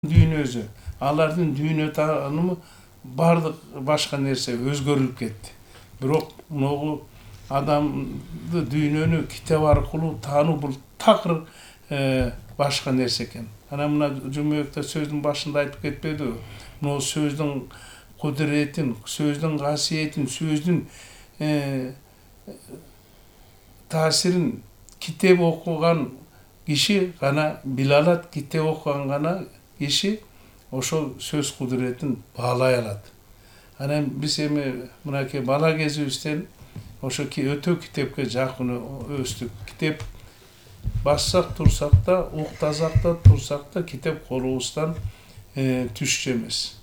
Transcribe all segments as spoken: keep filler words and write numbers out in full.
дүйнөсү, алардын дүйнө таанымы бардык башка нерсе өзгөрүлүп кетти. Бирок могу адамды дүйнөнү китеп аркылуу таануу бул такыр башка нерсе экен. Анан мына Жумабекте сөздүн башында айтып кетпедиби? Могу сөздүн кудуретин, сөздүн касиетин, сөздүн таасирин китеп окуган киши гана биле алат, китеп окуган гана киши ошол сөз кудуретин баалай алат. Анан биз эми мынакей бала кезибизден ошо өтө китепке жакын өстүк. Китеп бассак турсак да, уктасак да, турсак да китеп колубуздан түшчү эмес.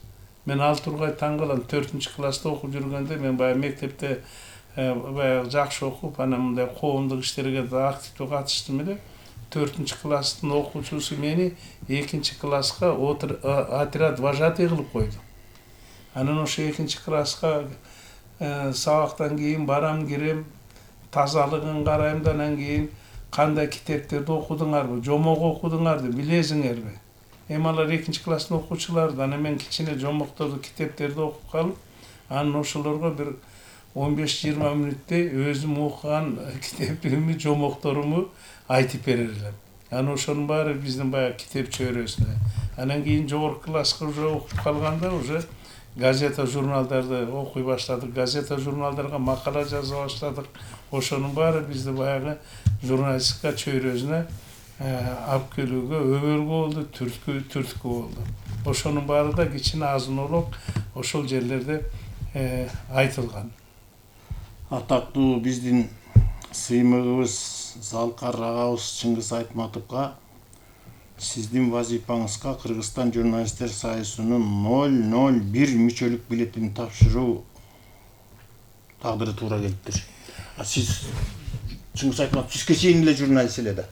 Мен ал тургай таң калам, төртүнчү класста окуп жүргөндө мен баягы мектепте баягы жакшы окуп, анан мындай коомдук иштерге да активдүү катыштым эле. төртүнчү класстын окуучусу мени экинчи класска отряд вожатый кылып койду. Анан ошо экинчи класска сабактан кийин барам, кирем, тазалыгын карайм да, анан кийин кандай китептерди окудуңарбы, жомок окудуңарды билесиңерби? Эми алар экинчи класстын окуучулары, анан мен кичине жомокторду, китептерди окуп калып, анан ошолорго бир он беш жыйырма мүнөттөй өзүм окуган китептеримди, жомокторумду айтып берер элем. Анан ошонун баары биздин баягы китеп чөйрөсүнө. Анан кийин жогорку класска уже окуп калганда уже газета, журналдарды окуй баштадык. Газета, журналдарга макала жаза баштадык. Ошонун баары бизди баягы журналистика чөйрөсүнө алып келүүгө өбөлгө болду, түрткү түрткү болду. Ошонун баары да кичине азын-олок ошол жерлерде айтылган. Атактуу биздин сыймыгыбыз Залкар агабыз Чыңгыз Айтматовго сиздин вазифаңызга Кыргызстан журналисттер союзунун ноль ноль бир мүчөлүк билетин тапшыруу тагдыры туура келиптир. А сиз Чыңгыз Айтматов сизге чейин эле журналист эле да.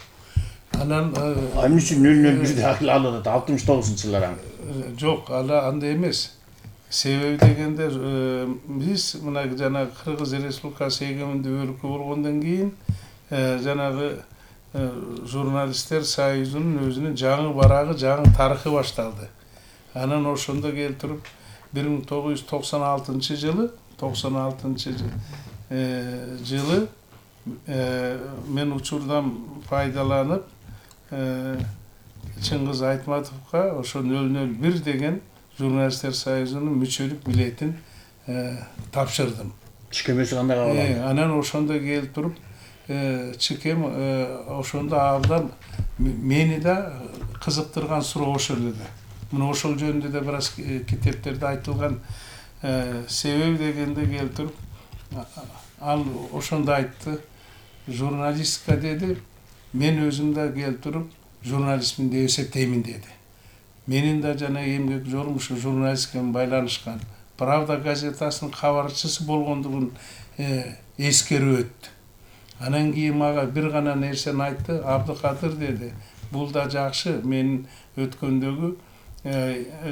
Анан эмне үчүн ноль ноль бирди алып алтымыш тогузунчу жылдар аны? Жок, ала андай эмес. Себеби дегенде биз мына жанагы Кыргыз Республикасы эгемендүү өлкө болгондон кийин жанагы журналисттер союзунун өзүнүн жаңы барагы, жаңы тарыхы башталды. Анан ошондо келтирип бир миң тогуз жүз токсон алтынчы жылы, токсон алтынчы жылы мен учурдан пайдаланып Чыңгыз Айтматовго ошо ноль ноль бир деген журналисттер союзунун мүчөлүк билетин тапшырдым. Чекемеси кандай кабыл алды? Анан ошондо келип туруп чекем ошондо абдан мени да кызыктырган суроо ошол эле. Мына ошол жөнүндө да бир аз китептерде айтылган. Себеби дегенде келип туруп ал ошондо айтты, журналистика деди, мен өзүм да келип туруп журналистмин деп эсептеймин деди. Менин да жана эмгек жолум ушу журналистика менен байланышкан. Правда газетасынын кабарчысы болгондугун эскерип өттү. Анан кийин мага бир гана нерсени айтты, Абдыкадыр деди, бул да жакшы, мен өткөндөгү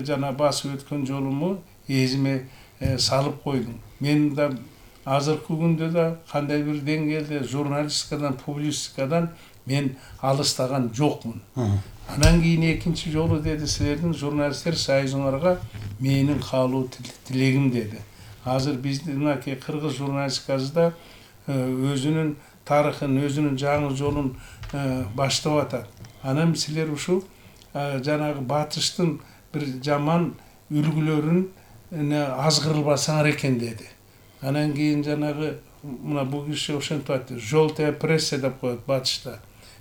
жана басып өткөн жолуму эзиме салып койдуң. Мен да азыркы күндө да кандай бир деңгээлде журналистикадан, публицистикадан мен алыстаган жокмун. Анан кийин экинчи жолу деди, силердин журналисттер союзуңарга менин каалуу тилегим деди. Азыр биздин мынакей кыргыз журналистикасында өзүнүн тарыхын, өзүнүн жаңы жолун баштап атат. Анан силер ушул жанагы батыштын бир жаман үлгүлөрүн азгырылбасаңар экен деди. Анан кийин жанагы мына бул киши ошентип айтты, желтая пресса деп коет батышта.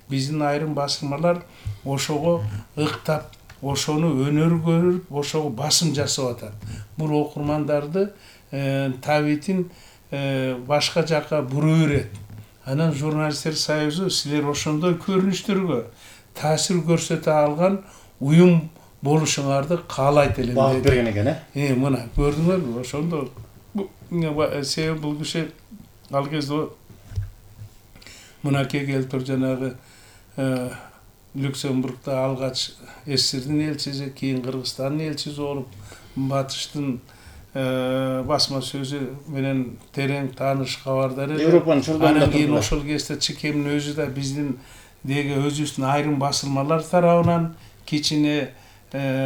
Биздин айрым басылмалар ошого ыктап, ошону өнөр көрүп, ошого басым жасап атат. Бул окурмандарды табитин башка жакка бура берет. Анан журналисттер союзу силер ошондой көрүнүштөргө таасир көрсөтө алган уюм болушуңарды каалайт элем деди. Багып берген экен, э? Мына көрдүңөрбү? Ошондо себеби бул киши ал кезде мынакей келип туруп жанагы Люксембургда алгач СССРдин элчиси, кийин Кыргызстандын элчиси болуп, батыштын басма сөзү менен терең тааныш, кабардар эле. Европанын чурдагында анан кийин ошол кезде чекемдин өзү да биздин деги өзүбүздүн айрым басылмалар тарабынан кичине